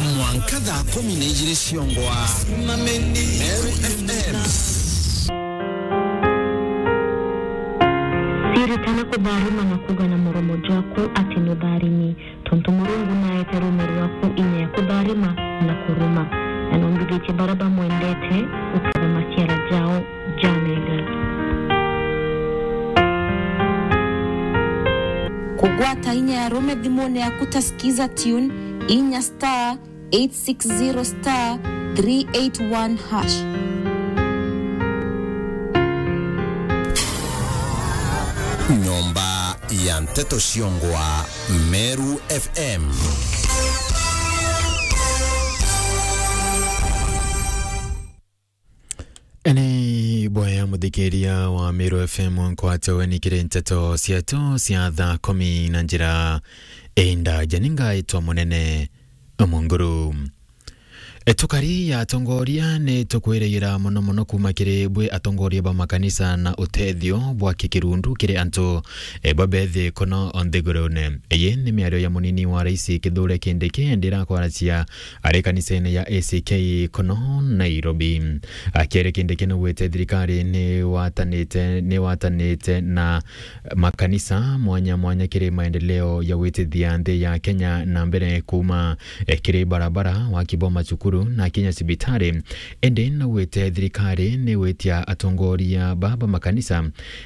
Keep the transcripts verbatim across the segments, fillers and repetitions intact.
Mwanka thaa kumi na ijiri ciongwa. Meru F M. Siritana kutharima na kuuga na muromo jwaku ati nutharimi, tontu Murungu naete ruume rwaku inya ya kutharima na kuruma, na numbithitie baria bamwendete guketha maciara jao ja mega. Kugwata inya ya ruume thimune yaku ta Skiza Tune, inya star eight six zero star three eight one hash. Nyomba ya nteto ciongwa, Meru F M. Ni boya muthikiria wa Meru F M nkwate weni kiri nteto cietu cia thaa kumi na njira indaja. Ni ngaitwa Munene Munguru. E, tukari ya atongoria ni tukwiragira mono mono kuuma kiri bwi atongoria ba makanisa na utethio bwa kikirundu kiri antu, e, babethi kuno nthigurune. Iyi ni miario ya munini wa rais Kithure Kindiki, ndi irakwaracia ari kanisene ya A C K kuno Nairobi. Akiaria Kindiki naugite thirikari ni watanite, ni watanite na makanisa mwanya mwanya kiri maendeleo ya gwitithia nthi ya Kenya na mbere, kuuma, eh, kiri barabara, waki bwa macukuru na kinya cibitari. Indi naugite thirikari ni gwitia atongoria ba, ba makanisa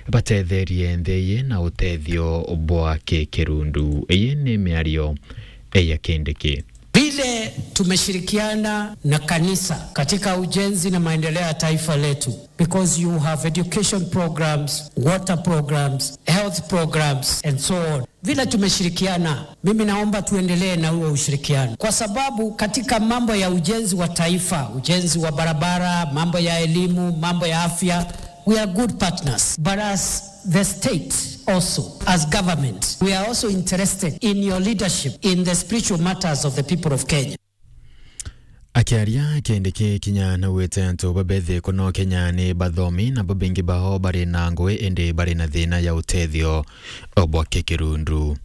batetherie nthi iyi na utethio bwa kikirundu. Iyi ni miario ya Kindiki. Vile tumeshirikiana na kanisa katika ujenzi na maendeleo ya taifa letu, because you have education programs, water programs, health programs and so on. Vile tumeshirikiana, mimi naomba tuendelee na huo ushirikiano, kwa sababu katika mambo ya ujenzi wa taifa, ujenzi wa barabara, mambo ya elimu, mambo ya afya, we are good partners. But as the state also, as government, we are also interested in your leadership in the spiritual matters of the people of Kenya. Akiaria Kindiki kinya naugite antu babethi kuno Kenya ni bathomi na babingi bao bari na ngui indi bari na thina ya utethio bwa kikirundu.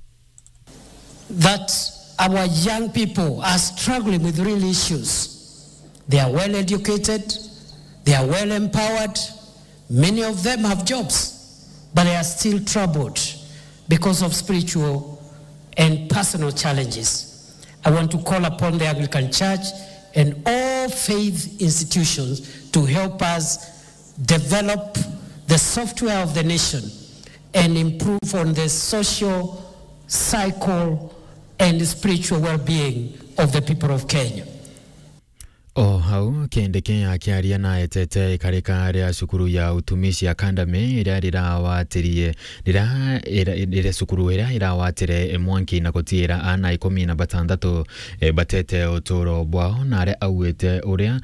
That our young people are struggling with real issues. They are well educated, they are well empowered, many of them have jobs, but they are still troubled because of spiritual and personal challenges. I want to call upon the Anglican Church and all faith institutions to help us develop the software of the nation and improve on the social, psycho and spiritual well-being of the people of Kenya. O hau, Kindiki akiaria na etete ikarika ria cukuru ya Utumishi Academy, iria rirawatirie, riria, ira-, iria cukuru iria irawatire mwanki na gutiira aana ikumi na batandatu, eh, batete uturo bwao, na aria augite uria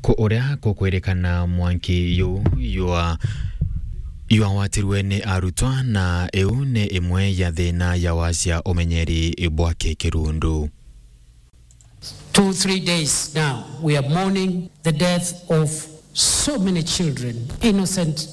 ku-, uria kukwirikana mwanki yu ywa-, ywawatirwe ni arutwa, na iu ni imwe ya thina ya wacia umenyeri bwa kikirundu. Two, three days now, we are mourning the death of so many children, innocent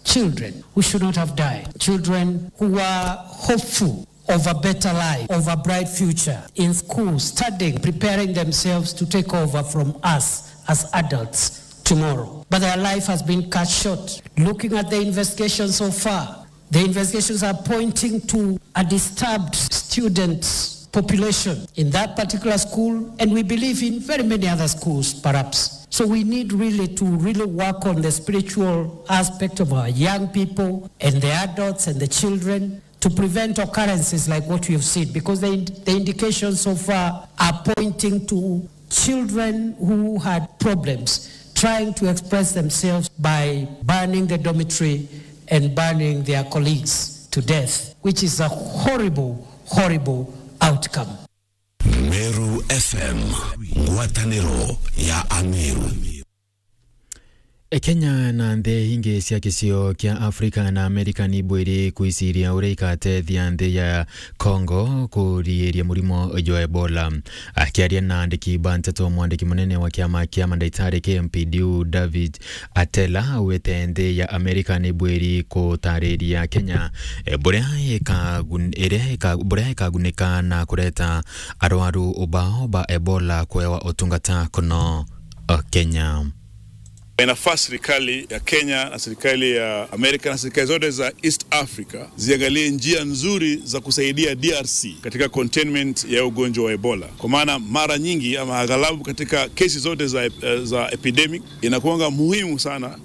children who should not have died, children who were hopeful of a better life, of a bright future in school, studying, preparing themselves to take over from us as adults tomorrow. But their life has been cut short. Looking at the investigation so far, the investigations are pointing to a disturbed student population in that particular school, and we believe in very many other schools, perhaps. So we need really to really work on the spiritual aspect of our young people and the adults and the children to prevent occurrences like what we have seen, because the ind-, the indications so far are pointing to children who had problems trying to express themselves by burning the dormitory and burning their colleagues to death, which is a horrible, horrible outcome. Meru F M, ngwataniro ya Ameru. Kenya na nthi ingi cia gicio kia Afrika na Amerika ni ibwiri kwiciria uria igatethia nthi ya Congo kuriiria murimo jwa Ebola. Akiaria na andiki ba nteto, mwandiki munene wa kiama kia mandagitari kia M P D U, David Atela, augite nthi ya Amerika ni ibwiri gutariria Kenya, eh, buria ikagun-, iria ika-, buria ikagunika na kureta arwaru bao ba Ebola kwewa utungata kuno, eh, Kenya. Inafaa serikali ya Kenya na serikali ya Amerika na serikali zote za East Africa ziangalie njia nzuri za kusaidia D R C katika containment ya ugonjwa wa Ebola, kwa maana mara nyingi ama aghalabu katika kesi zote za, za epidemic inakuanga muhimu sana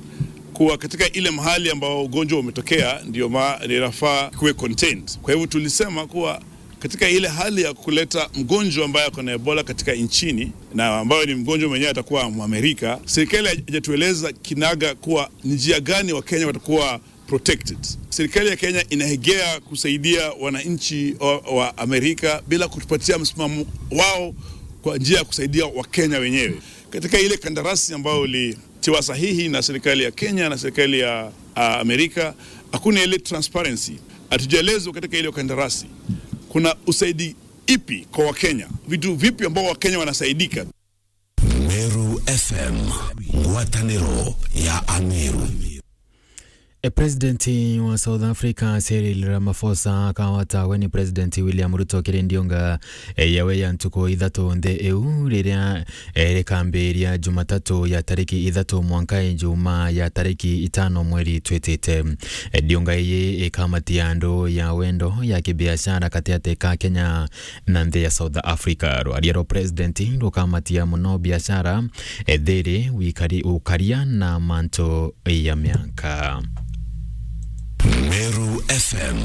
kuwa katika ile mahali ambao ugonjwa umetokea ndio ma-, ndio inafaa kuwe contained. Kwa hivyo tulisema kuwa katika ile hali ya kuleta mgonjwa ambaye ako na Ebola katika nchini na ambayo ni mgonjwa mwenyewe atakuwa Mwamerika, serikali haijatueleza kinaga kuwa ni njia gani Wakenya watakuwa protected. Serikali ya Kenya inaegea kusaidia wananchi wa, wa Amerika bila kutupatia msimamo wao kwa njia ya kusaidia Wakenya wenyewe. Katika ile kandarasi ambayo ilitiwa sahihi na serikali ya Kenya na serikali ya, ah, Amerika, hakuna ile transparency. Hatujaelezwa katika ile kandarasi kuna usaidi ipi kwa Wakenya, vitu vipi ambao Wakenya wanasaidika. Meru F M, ngwatanĩro ya Ameru. E, President wa South Africa Cyril Ramaphosa akawatagwe ni President William Ruto kiri ndiunga, e, yawe ya ntuku ithatu nthi iu, riria, e, rikambiria Jumatatu ya tariki ithatu mwanka Ijumaa ya tariki itano mweri twitite. E, ndiunga iyi ikamatia andu ya wendo ya kibiashara gatiati ka Kenya na nthi ya South Africa. Rwaria rwa President rukamatia muno biashara, e, thiri, wikari-, ukaria na mantu ya mianka. Meru F M,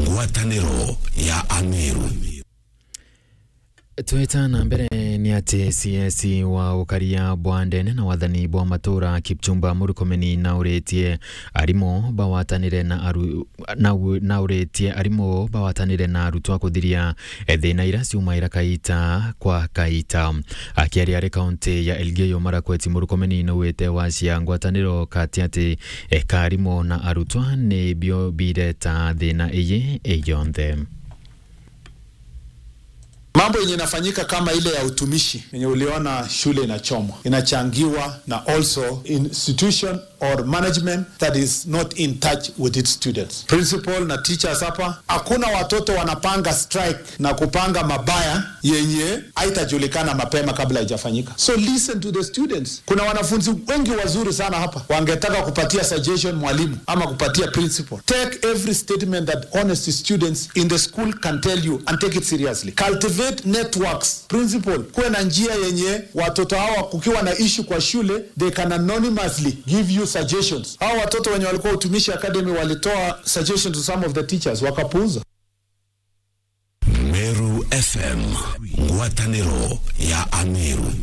ngwatanĩro ya Ameru. Twita na mbere ni ati C S wa ukaria bwa ndene na wathani bwa matura Kipchumba Murkomen nauritie arimu bawatanire na aru-, na u-, nauritie arimu bawatanire na arutwa kuthiria, e, thina ira ciumaira kaita kwa kaita. Akiaria ari kaunti ya Elgeyo Marakwet, Murkomen naugite wacia ngwataniro kati ati, e, ka arimu na arutwa nibio bireta thina iyi yonthe. Mambo yenye inafanyika kama ile ya utumishi yenye uliona shule inachomwa, inachangiwa na also institution or management that is not in touch with its students. Principal na teachers hapa, hakuna watoto wanapanga strike na kupanga mabaya yenye haitajulikana mapema kabla haijafanyika. So listen to the students. Kuna wanafunzi wengi wazuri sana hapa, wangetaka kupatia suggestion mwalimu ama kupatia principal. Take every statement that honest students in the school can tell you and take it seriously. Cultivate networks. Principal, kuwe na njia yenye watoto hawa, kukiwa na issue kwa shule, they can anonymously give you suggestions. Hawa watoto wenye walikuwa Utumishi Academy walitoa suggestions to some of the teachers, wakapuuza. Meru F M, ngwatanĩro ya Ameru.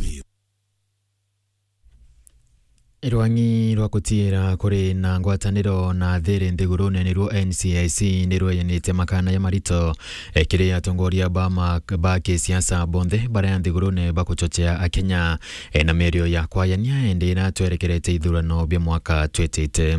Rwang'i rwa gutiira kuri na ngwataniro na thiri nthigurune niruo N C I C nirweyanite makana ya marito, e, kiri atongoria ba ma-, ba kisiasa bonthe baria nthigurune baguchochea Akenya, e, na miario ya kwayania indi iria twerekerete ithurano bia mwaka twitite.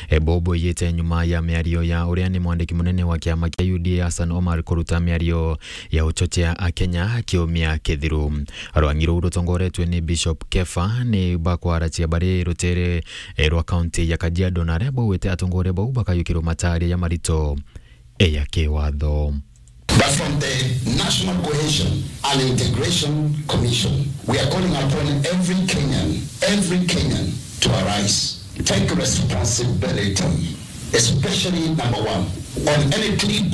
E, bobo iyite nyuma ya miario ya uria ni mwandiki munene wa kiama kia U D A Hassan Omar kuruta miario ya uchochea Akenya kiumia kithiru. Rwang'i ruu rutongoretwe ni Bishop Kefa ni bakwaracia bari rutere, e, rwa kaunti ya Kajiado, na aria baugite atongoria bau bakayukirwa mataria ya marito, e, ya kiwatho. But from the National Cohesion and Integration Commission, we are calling upon every Kenyan, every Kenyan to arise. Take responsibility, especially number one, on any clip,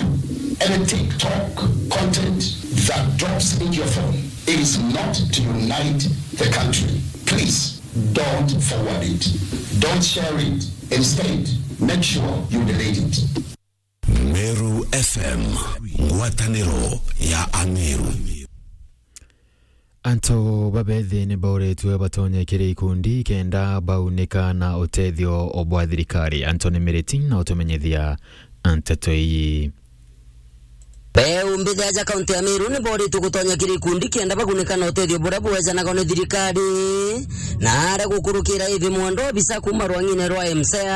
any TikTok content that drops into your phone. It is not to unite the country. Please don't forward it. Don't share it. Instead, make sure you delete it. Meru F M, ngwataniro ya Ameru. Antu babethi ni bauritwe batonye kiri ikundi kenda baunika na utethio bwa thirikari. Anthony Miriti na utumenyithia nteto iyi. Beumbithi aja kaunti ya Meru ni boritwe gutonya kiri ikundi kenda bagunika na utethio buria bwejanaga ni thirikari. Na aria gukurukira ivi mwendo obisa kuuma rwang'ine rwa M C E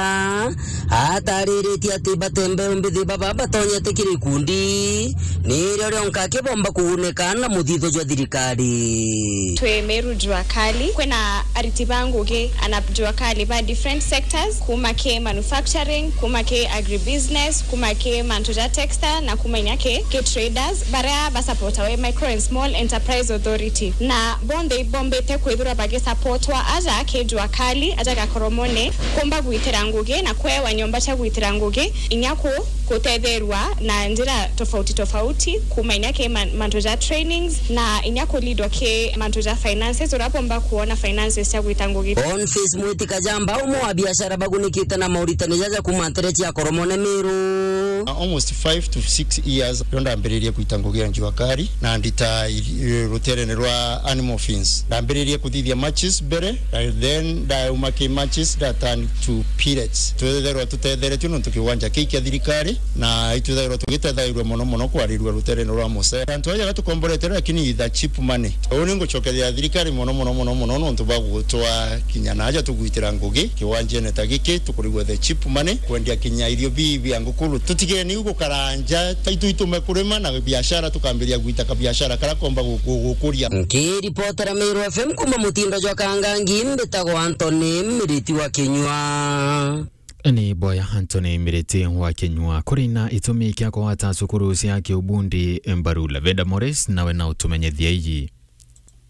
A atariritie ati bate mbeumbithi baba batonyete kiri ikundi nirio rionka kibomba kugunika na muthitho jwa thirikari. Twi Meru Jua Kali, kwina ariti ba ngugi ana jua kali ba different sectors, kuma ki manufacturing, kuma ki agribusiness, kuma ki mantu ja textile, na kuma inya ki, ki traders, baria basupportawa i Micro and Small Enterprise Authority. Na bonthe ibombite kwithirwa bagisupportwa aja ki jua kali, aja gakoromone, kumba gwitira ngugi na kwewa nyomba cia gwitira ngugi, inya ku, kutetherwa na njira tofauti tofauti, kuma inya ki man-, mantu ja trainings, na inya kulidwa ki mantu ja finances, uria bomba kuona finances cia gwita ngugi. Boniface Mwiti Kajamba, umwe wa biashara bagunikite na mauritani jaja kuma ntere cia Koromone Meru. Almost five to six years rio ndambiririe gwita ngugi ya njua kari, na ndita i-, ruterene rwa animal fins. Ndambiririe kuthithia matches mbere, and then ndauma ki matches nda turn to pellets. Twetherwa tutetheretue nontu kiwanja kii kia thirikari, na itwethairwa tugitethairua mono mono kwarirua ruterene rwa Mosea. Antu aja batukomborete, lakini the cheap money. Uu ni ngucokeria thirikari mono mono mono mono nontu bwa gutwa kinya na aja tugwitira ngugi kiwanjene ta giki, tukurigua the cheap money, kwendia kinya irio bibi bia ngukuru. Tutigeni gukaranja, taitu itume kurima na biashara, tukambiria gwita kabiashara karia komba gu-, gu-, gukuria. Nkiripotera Meru F M kuma mutindo jwa Kangangi, mbitagwa Anthony Miriti wa Kinyua. Ni boya Anthony Miriti wa Kinyua. Kuri na itumi kia kugwata cukuru cia kiubundi mbaru, Lavenda Morris nawe na utumenyithia iji.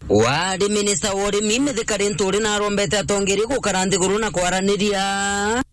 Wari minista wa urimi Mithika Linturi narombete atongeri gukara nthiguru na kwaraniria.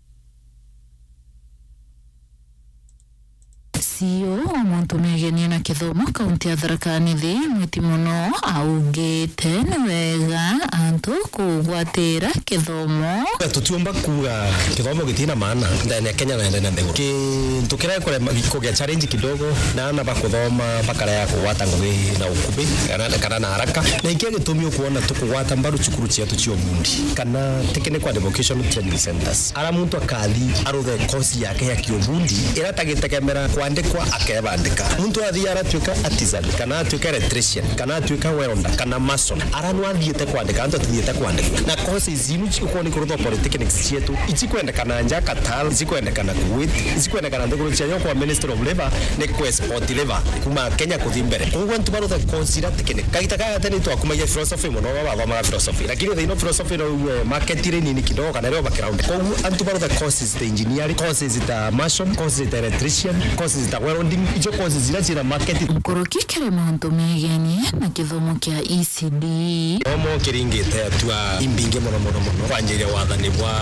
C E O wa mantu megenie na kithomo kaunti ya Tharaka Nithi, Mwiti Muno, augite ni wega antu kugwatira kithomo. Tutiumba kuuga kithomo gitina maana ndani ya Kenya na ndani ya nthiguru. Kintu kiria kurema kugia challenge kidogo na ana bakuthoma bakarega kugwata ngugi na ukubi kana, kana na haraka. Na ikio gitumi ukuona tukugwata mbaru cukuru cietu cia ubundi kana technical and vocational training centers. Ara muntu akathi aruthe course yake ya kiubundi, ira tagitegemera kwandikwa akebandika. Muntu athi aratuika artisan, kana atuika electrician, kana atuika welder, kana mason. Ara no athiite kwandika, antu atithiite kwandikwa. Na courses inu cikukorwo ni kurutha polytechnics cietu, icikwendekana nja Qatar, icikwendekana Kuwait, icikwendekana nthiguru cia nyo kwa Ministry of Labour, ni ku export labour kuma Kenya kuthi mbere. Koguo antu barutha course ira technical. Kagita kaya tene twakumagia philosophy muno, bathomaga philosophy. Lakini thaino philosophy no uwe market iri nini kidogo, kana iri over crowded. Koguo antu barutha courses ta engineering, courses ta mason, courses ta electrician, courses ta welding, icio courses ira ciina market. Nkuruki kiri mantu megenie na kithomo kia E C D. Kithomo kiringite atua imbingi muno, muno, muno. Kwanjiria wathani bwa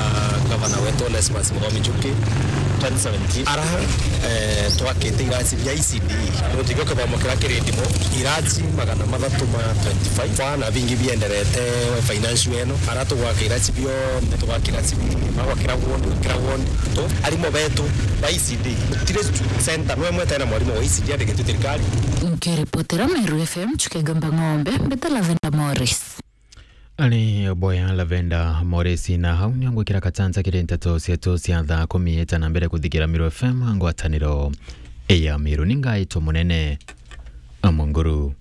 gavana wetu Onesmus Muthomi Njuki, twenty seventeen. Ara, eh, twakite irasi bia E C D. Nontu ikio kithomo kiria kiri ndimo, irasi magana mathatu ma twenty-five. Kwa na bingi bienderete financial eno. Ara tugwaka irasi bionthe, tugwaka irasi bingi. Magwa kira ward, kira ward. Tu, arimu betu ba E C D. Gutiri center no imwe itena mwarimu wa E C D andikitwe thirikari. Nkiripotera Meru F M, Chuke Gamba Ng'ombe, mbita Lavenda Morris. Ari boya Lavenda Morris, na hau nio ngwikira katanza kiri nteto cietu cia thaa kumi ita na mbere kuthikira Meru F M, ngwataniro ya Meru. Ni ngaitwo munene Amonguru.